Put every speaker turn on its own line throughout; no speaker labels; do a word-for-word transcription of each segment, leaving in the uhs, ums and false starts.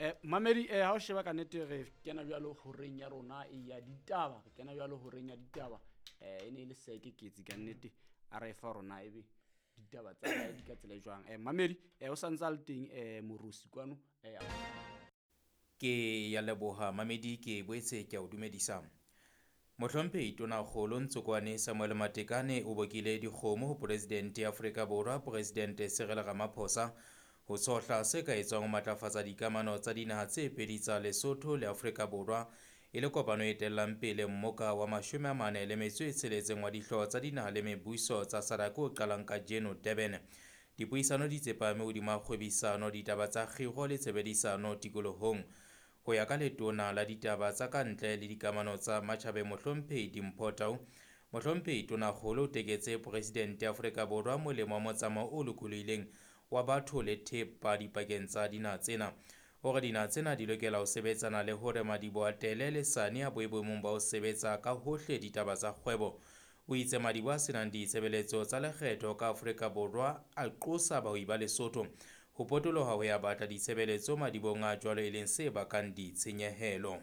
Eh mamedi eh ha o sheba ka nnete re kena jwalo horeng ya rona e ya ditaba, re kena jwalo horeng ya ditaba. Eh e ne le seke ketsi ka nnete a re fa rona ebe ditaba tsa hae di ka tsela e jwang. Eh mamedi eh o santsa le teng eh Morusi kwano eh
Ke ya leboha mamedi ke boetse ke a o dumedisa. Mohlomphehi Tonakgolo Ntsokoane Samuel Matekane o bokile dikgomo ho Presidente ya Afrika Borwa Presidente Cyril Ramaphosa ho tshohla se ka etswang ho matlafatsa dikamano tsa dinaha tse pedi tsa Lesotho le Afrika Borwa e le kopano e etellang pele mmoka wa mashome a mane le metso e tsheletseng wa dihlooho tsa dinaha le mebuso tsa SADC o qalang kajeno Durban. Dipuisano di tsepame hodima kgwebisano, ditaba tsa kgiro le tshebedisano tikolohong. Ho ya ka letona la ditaba tsa kantle le dikamano tsa matjhabeng Mohlomphehi Dimpho Tau, Mohlomphehi Tonakgolo o teketse Presidente ya Afrika Borwa molemo wa motsamao o lokolohileng wa batho le thepa dipakeng tsa dinaha tsena. Hore dinaha tsena di lokela ho sebetsana le hore madiboho a Tele le Sane a boe boemong ba ho sebetsa ka hohle ditaba tsa kgwebo. O itse madiboho a senang ditshebeletso tsa lekgetho ka Afrika Borwa a qosa bahwebi ba Lesotho ho potoloha ho ya batla ditshebeletso madibohong a jwalo e leng se bakang ditshenyehelo.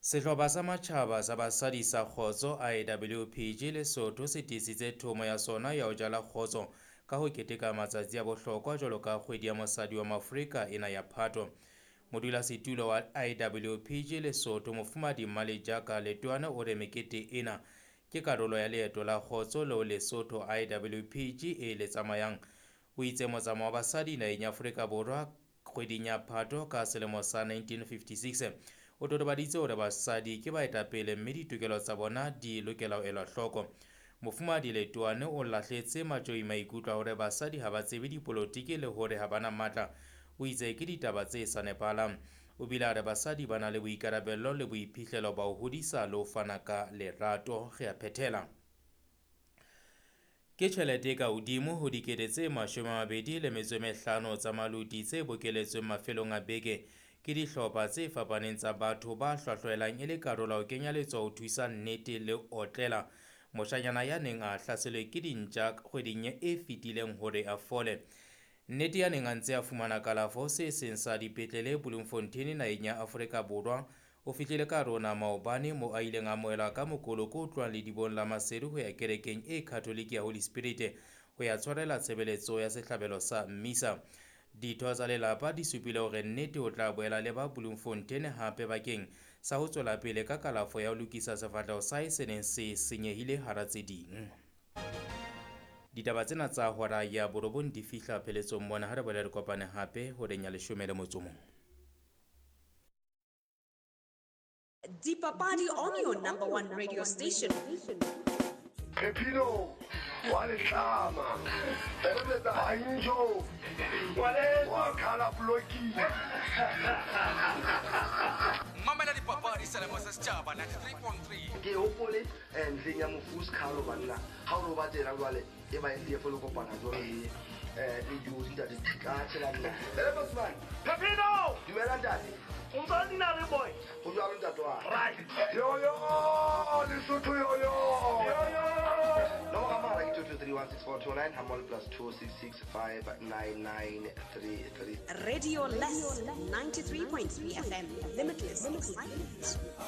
Sehlopha sa matjhaba sa basadi sa kgotso I W P G Lesotho se tiisitse thomo ya sona ya ho jala kgotso ka ho keteka matsatsi a bohlokwa jwalo ka kgwedi ya mosadi wa Maafrika ena ya Phato. Modulasetulo wa I W P G Lesotho Mofumahadi Mmalejaka Letoane o re mekete ena ke karolo ya leeto la kgotso leo Lesotho I W P G e le tsamayang. O itse motsamao wa basadi naheng ya Afrika Borwa kgweding ya Phato ka selemo sa nineteen fifty-six o totobaditse hore basadi ke baetapele mme ditokelo tsa bona di lokela ho elwa hloko. Mofumahadi Letoane o lahletse matjoi maikutlo a hore basadi ha ba tsebe dipolotiki le hore ha bana matla. O itse ke ditaba tse sa nepahalang. O bile a re basadi ba na le boikarabello le boiphihlelo ba ho hodisa le ho fana ka lerato. Re a phethela. Ke tjhelete e ka hodimo ho dikete tse mashome a mabedi le metso e mehlano tsa maluti tse bokeletsweng mafelong a beke ke dihlopha tse fapaneng tsa batho ba hlwahlwaelang e le karolo ya ho kenya letsoho ho thusa nnete le otlela moshanyana ya neng a hlaselwe ke dintja kgweding e fetileng hore a fole. Nnete ya neng a ntse a fumana kalafo se seng sa dipetlele Bloemfontein naheng ya Afrika Borwa o fihlile ka rona maobane mo a ileng a amohelwa ka mokoloko o tlohang ledibong la Maseru ho ya kerekeng e Catholic ya Holy Spirit ho ya tshwarela tshebeletso ya sehlabelo sa mmisa. Ditho tsa lelapa di supile hore nnete o tla boela le ba Bloemfontein hape bakeng sa ho tswela pele ka kalafo ya ho lokisa sefahleho sa hae se neng se senyehile hara tse ding. Ditaba tsena tsa hora ya borobong di fihla pheletsong mona. Ha re boela re kopane hape horeng ya leshome le motso o mong.
Dipapadi on your number one radio station.
Pepino, wa letlama, Banjo, wa khala bloki.
Mamela dipapadi selemo sa setjhaba ninety-three point three.
Ke hopole ntleng ya Mofus Khalo banna. Ha o roba tsena jwale e ba e le kopana jwale le eh le dijo ntate ka tshela nna. Ele Bosman.
Pepino!
Dumela ntate.
O ntse o dina le boy.
Ho jwalo ntate wa.
Right.
Yo yo, Lesotho yo yo. Yo yo. Nomoro ya mohala ke two two three one six four two nine hammoho plus two six six five nine nine three three.
Radio Less ninety-three point three F M. Limitless excitement.